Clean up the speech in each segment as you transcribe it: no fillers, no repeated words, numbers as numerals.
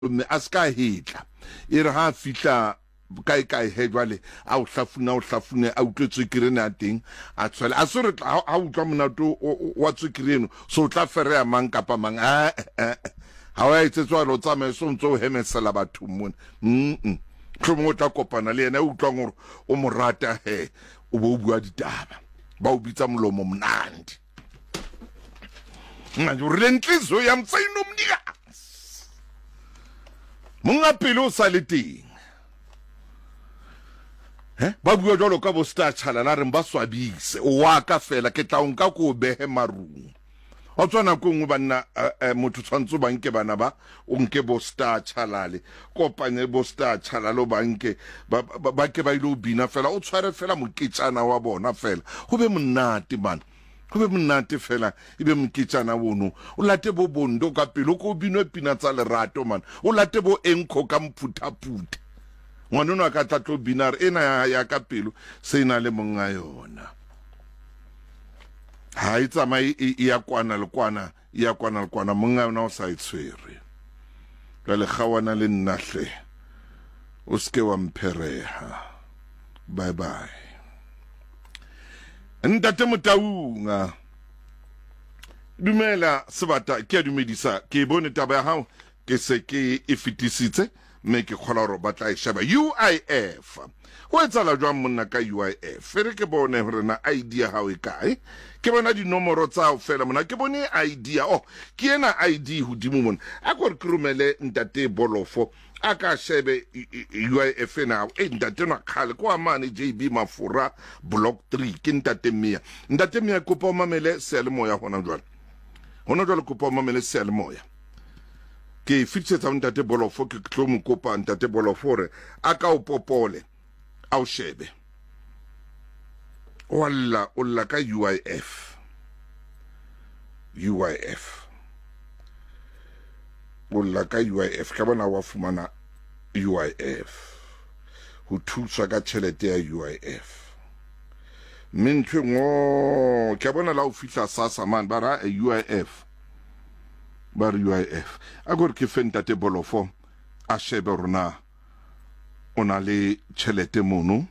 Mme a se ka hetla. E re ha a fihla kae kae he jwale a o hlafune a o hlafune a utlwe tswekere ena ya teng a tshwele a se re ha ha utlwa monate wa tswekere eno so o tla fereya mang kapa mang eh eh ha o ya etsetswa jwale o tsamaye so ntse o hemesela bathong mona mm mohlomong o tla kopana le yena e utlwang gore o mo rata he o bo o bua ditaba ba o bitsa molomo monandi manje o rile ntlizo ya mtsayinomnikazi monga pele o sa le teng he ba bua jalo ka bo star chalala reng ba swabise o wa ka fela ke tla o nka ko o behe marung wa tswa nako e nngwe banna eh, eh, motho tshwanetse o ba nke bana ba o nke bo star chalale kopanye bo star chalale o ba nke ba, ba, ba ke ba ile o bina fela o tshware fela moketjana wa bona fela go be monate man go be monate fela e be moketjana wono o late bo bondo ka pele o ko o binwe pina tsa lerato man o late bo enkho ka mphuthaphutha ngwaneno a ka tla tlo bina re ena ya, ya ka pelo se e na le monga yona ha e tsamaye e, e ya kwana le kwana e ya kwana le kwana monga yona o sa e tshwere jwale kgawana le nna hle o seke wa mphereha bye bye ntate motaunga dumela sebata ke a dumedisa ke e bone taba ya gago ke se ke e fetisitse mme ke kgola gore ba tla e sheba uif go etsala jwang monna ka uif e re ke bone gore na id ya gago e kae ke bona dinomoro tsa fela mona ke bone id ya oh ke ena id hodimo mona a ko re ke romele ntate bolofo a ka shebe uif ena e ntate nwa kgale ko amane jb mafora block 3 ke ntate mia ntate mia kopa o mamele seyalemoya hona jwale hona jwale kopa o mamele seyalemoya ke e fetisetsa ho ntate bolofo ke tlo mo kopa ntate bolofo hore a ka o popole a o shebe wa lla o lla ka uif uif o lla ka uif ka bona wa fumana uif ho thuswa ka tšhelete ya uif mme ntho e nngwe ke a bona la o fihla sasa mane ba ra uif ba re uif a kore ke fe ntate bolofo a shebe gore na o na le tšhelete mono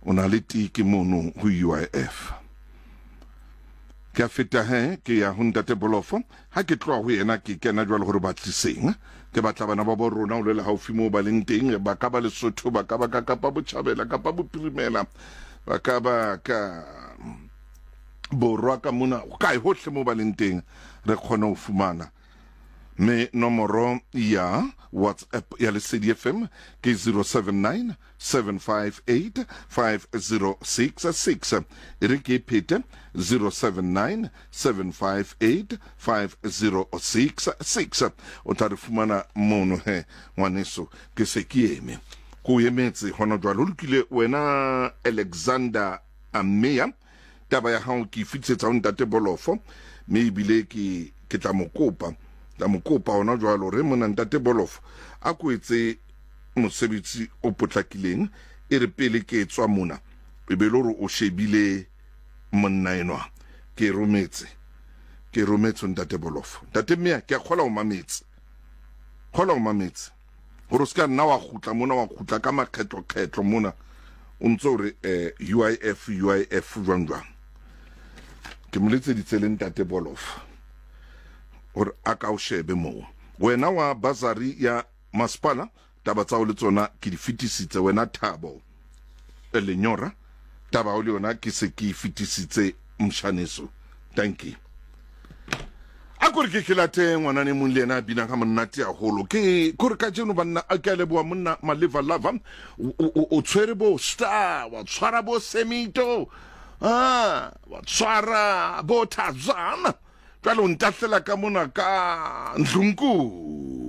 o na le tiki mono go uif ke a feta he ke ya go ntate bolofo ha ke tloga go yena ke kena jwalo gore batliseng ke batla bana ba bo rona o le le gaufi moo ba leng teng ba ka ba lesotho ba ka ba ka kapa botšhabela kapa bophirimela ba ka ba ka borwa ka mona kae hohle mo ba leng teng re kgone ho fumana mme nomoro ya whatsapp ya lesedi fm ke 079 758 5066 e re ke e phete 079 758 5066 o tla re fumana mono he ngwaneso ke se ke eme ko o emetse hona jwale ho lokile wena alexander Ameya, taba ya gago ke e fetisetsa go ntate Bolofo, mme ebile ke ke tla mo kopa, tla mo kopa hona jwalo re mona ntate Bolofo a ko etse mosebetsi o potlakileng e re pele ke tswa mona e be le gore o shebile monna enwa ke rometse ke rometse ntate Bolofo ntate Mmea ke a kgola o mametse kgola o mametse gore o se ka nna wa gutla mona wa gutla ka makgetlokgetlo mona o ntse o re um uif uif jwang jwang ke mo letseditse le ntate bolof gore a ka o shebe moo wena wa basari ya masepala taba tsa o le tsona ke di fetisitse wena thabo lenyora taba o le yona ke se ke e fetisitse mshaneso tanki a kore ke ke late ngwanane mong le yena a binang ga monate haholo ke kore ka jeno banna a ke a leboa monna maleva lava o tshwere bo star wa tshwara bo semito a wa tshwara bo tazana jwale o ntahlela ka mona ka ndlunkulu.